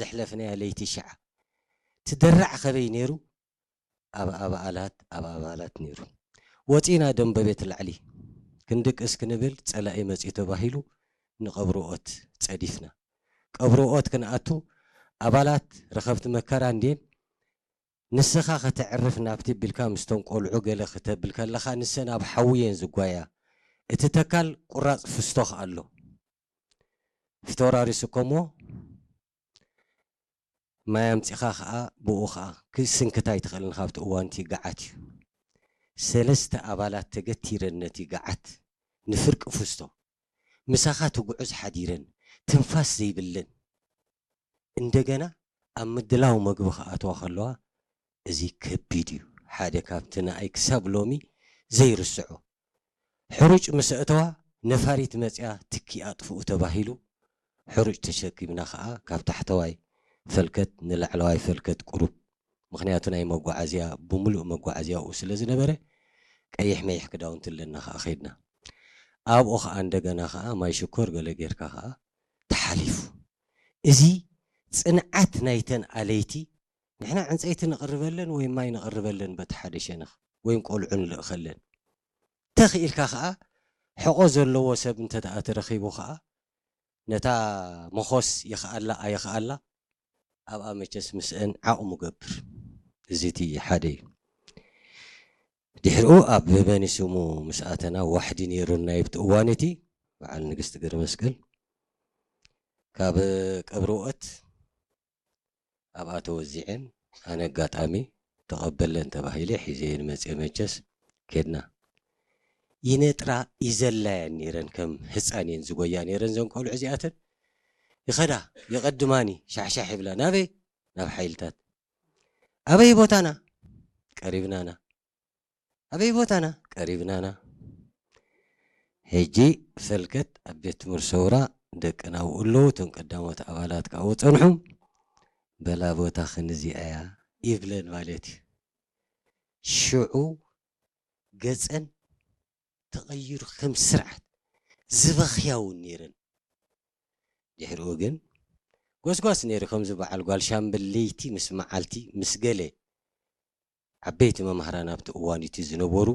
ዘሕለፍናያ ለይቲ ሽዓ ትደራዕ ከበይ ነይሩ? ኣብ ኣባላት ኣብ ኣባላት ነይሩ። ወፂና ደንበ ቤት ላዕሊ ክንድቅስ ክንብል ፀላኢ መፂኡ ተባሂሉ ንቐብርኦት ፀዲፍና። ቀብርኦት ክንኣቱ ኣባላት ረኸብቲ መከራ እንድየን ንስኻ ከተዕርፍ ናብቲ ቢልካ ምስቶም ቆልዑ ገለ ክተብል ከለኻ ንሰን ኣብ ሓዊ እየን ዝጓያ። እቲ ተካል ቁራፅ ፍስቶኽ ኣሎ። ፊተወራሪ ስከምዎ ማይ ኣምፂኻ ኸዓ ብኡ ኸዓ ክስንክታ ኣይትኽእልን። ካብቲ እዋንቲ ገዓት እዩ። ሰለስተ ኣባላት ተገቲረን ነቲ ገዓት ንፍርቂ ፍስቶ ምሳኻ ትጉዕዝ ሓዲረን ትንፋስ ዘይብለን እንደገና ኣብ ምድላው መግቢ ክኣትዋ ከለዋ እዚ ከቢድ እዩ። ሓደ ካብቲ ንኣይ ክሳብ ሎሚ ዘይርስዖ ሕሩጭ ምስ ኣእተዋ ነፋሪት መፅያ ትኪ ኣጥፍኡ ተባሂሉ ሕሩጭ ተሸኪምና ከዓ ካብ ታሕተዋይ ፈልከት ንላዕለዋይ ፈልከት ቁሩብ ምኽንያቱ ናይ መጓዓዝያ ብምሉእ መጓዓዝያኡ ስለ ዝነበረ ቀይሕ መይሕ ክዳውንቲ ኣለና ከዓ ከይድና ኣብኡ ከዓ እንደገና ከዓ ማይ ሽኮር ገለ ጌርካ ከዓ ተሓሊፉ እዚ ፅንዓት ናይተን ኣለይቲ ንሕና ዕንፀይቲ ነቕርበለን ወይ ማይ ነቕርበለን በቲ ሓደ ሸነኽ ወይም ቆልዑ ንልእኸለን ተኽኢልካ ከዓ ሕቖ ዘለዎ ሰብ እንተ ደኣ ተረኺቡ ከዓ ነታ መኾስ ይኽኣላ ኣይኽኣላ ኣብኣ መቸስ ምስአን ዓቕሙ ገብር እዚ እቲ ሓደ እዩ ድሕሪኡ ኣብ በኒ ስሙ ምስ ኣተና ዋሕዲ ነይሩ ናይ ብቲ እዋን እቲ በዓል ንግስቲ ገርመስቀል ካብ ቀብርኦት ኣብኣ ተወዚዐን ኣነ ኣጋጣሚ ተቐበለን ተባሂለ ሒዘየን መፅየ መቸስ ኬድና ይነጥራ ይዘላያን ነይረን ከም ህፃን እየን ዝጎያ ነይረን ዘን ቆልዑ እዚኣተን ይኸዳ ይቐድማኒ ሻሕሻሕ ይብላ ናበይ ናብ ሓይልታት ኣበይ ቦታና ቀሪብናና ኣበይ ቦታና ቀሪብናና ሕጂ ፈልከት ኣብ ቤት ትምህርቲ ሰውራ ደቅና ኣብኡ ኣለዉ እቶም ቀዳሞት ኣባላት ከዓ ጸንሑ በላ ቦታ ክንዚኣያ ይብለን ማለት እዩ ሽዑ ገፀን ተቐይሩ ከም ስርዓት ዝበኽያ እውን ነይረን ድሕሪኡ ግን ጎስጓስ ነይሩ ከምዚ በዓል ጓል ሻምበል ለይቲ ምስ መዓልቲ ምስ ገለ ዓበይቲ መማህራን ኣብቲ እዋን እቲ ዝነበሩ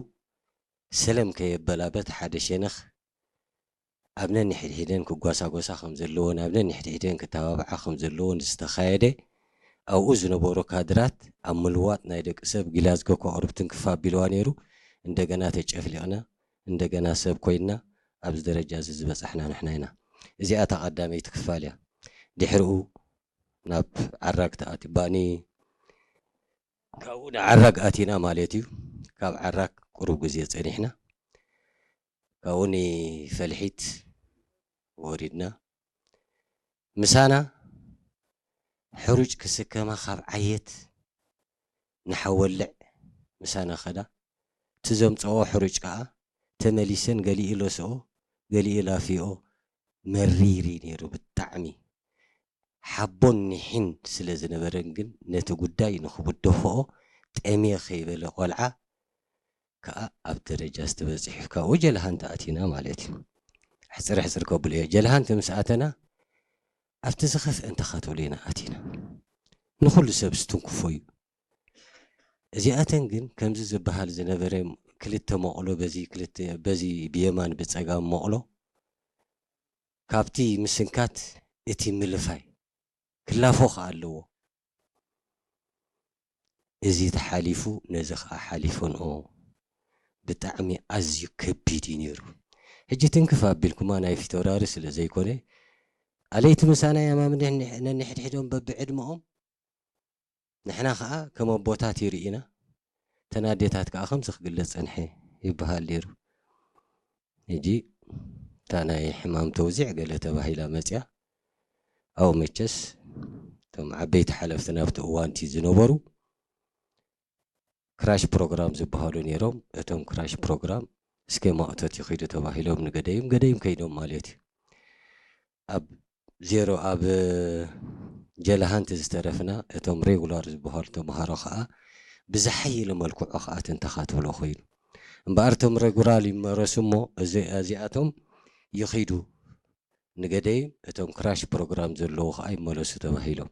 ሰለም ከየበላ በቲ ሓደ ሸነኽ ኣብ ነንሕድሕደን ክጓሳጎሳ ከም ዘለዎን ኣብ ነንሕድሕደን ክተባብዓ ከም ዘለዎን ዝተኻየደ ኣብኡ ዝነበሩ ካድራት ኣብ ምልዋጥ ናይ ደቂ ሰብ ጊላዝጎ ከቕርብ ትንክፍ ኣቢልዋ ነይሩ እንደገና ተጨፍሊቕና እንደገና ሰብ ኮይንና ኣብዚ ደረጃ እዚ ዝበፃሕና ንሕና ኢና እዚኣ እታ ቀዳመይቲ ክፋል እያ ድሕሪኡ ናብ ዓራግ ተኣትባኒ ካብኡ ንዓራግ ኣቲና ማለት እዩ ካብ ዓራግ ቁሩብ ግዜ ፀኒሕና ካብኡ ንፈልሒት ወሪድና ምሳና ሕሩጭ ክስከማ ካብ ዓየት ንሓወልዕ ምሳና ኸዳ እቲ ዘምፀኦ ሕሩጭ ከዓ ተመሊሰን ገሊኡ ለስኦ ገሊኡ ላፊኦ መሪር እዩ ነይሩ ብጣዕሚ ሓቦን ኒሕን ስለ ዝነበረን ግን ነቲ ጉዳይ ንኽብደፍኦ ጠምየ ከይበለ ቆልዓ ከኣ ኣብ ደረጃ ዝተበጽሑ ካብኡ ጀልሃ እንተኣቲና ማለት እዩ ሕፅር ሕፅር ከብሎ እየ ጀልሃ እንተ ምስ ኣተና ኣብቲ ዝኸፍአ እንተኻተሉ ኢና ኣቲና ንኹሉ ሰብ ዝትንክፎ እዩ እዚኣተን ግን ከምዚ ዝበሃል ዝነበረ ክልተ መቕሎ በዚ ክልተ በዚ ብየማን ብፀጋም መቕሎ ካብቲ ምስንካት እቲ ምልፋይ ክላፎ ከኣ ኣለዎ። እዚ ተሓሊፉ ነዚ ከኣ ሓሊፈንኦ ብጣዕሚ ኣዝዩ ከቢድ እዩ ነይሩ። ሕጂ ትንክፍ ኣቢልኩማ ናይ ፊተውራሪ ስለ ዘይኮነ ኣለይቲ ምሳና ያማም ነንሕድሕዶም በብዕድመኦም ንሕና ኸዓ ከም ኣቦታት ይርኢና እተን ኣዴታት ከዓ ከምዚ ክግለጽ ጸንሐ ይበሃል ነይሩ። ሕጂ እታ ናይ ሕማም ተውዚዕ ገለ ተባሂላ መጽያ ኣብኡ መቸስ እቶም ዓበይቲ ሓለፍቲ ናብቲ እዋንቲ ዝነበሩ ክራሽ ፕሮግራም ዝበሃሉ ነይሮም። እቶም ክራሽ ፕሮግራም እስከ ማእቶት ይኺዱ ተባሂሎም ንገደይም ገደይም ከይዶም ማለት እዩ። ኣብ ዜሮ ኣብ ጀልሃንቲ ዝተረፍና እቶም ሬጉላር ዝበሃሉ ተምሃሮ ከዓ ብዝሓየለ መልክዑ ከዓ ትንተኻ ትብሎ ኮይኑ እምበኣር እቶም ሬጉላር ይመረሱ እሞ እዚኣቶም ይኺዱ ንገደይም እቶም ክራሽ ፕሮግራም ዘለዉ ከዓ ይመለሱ ተባሂሎም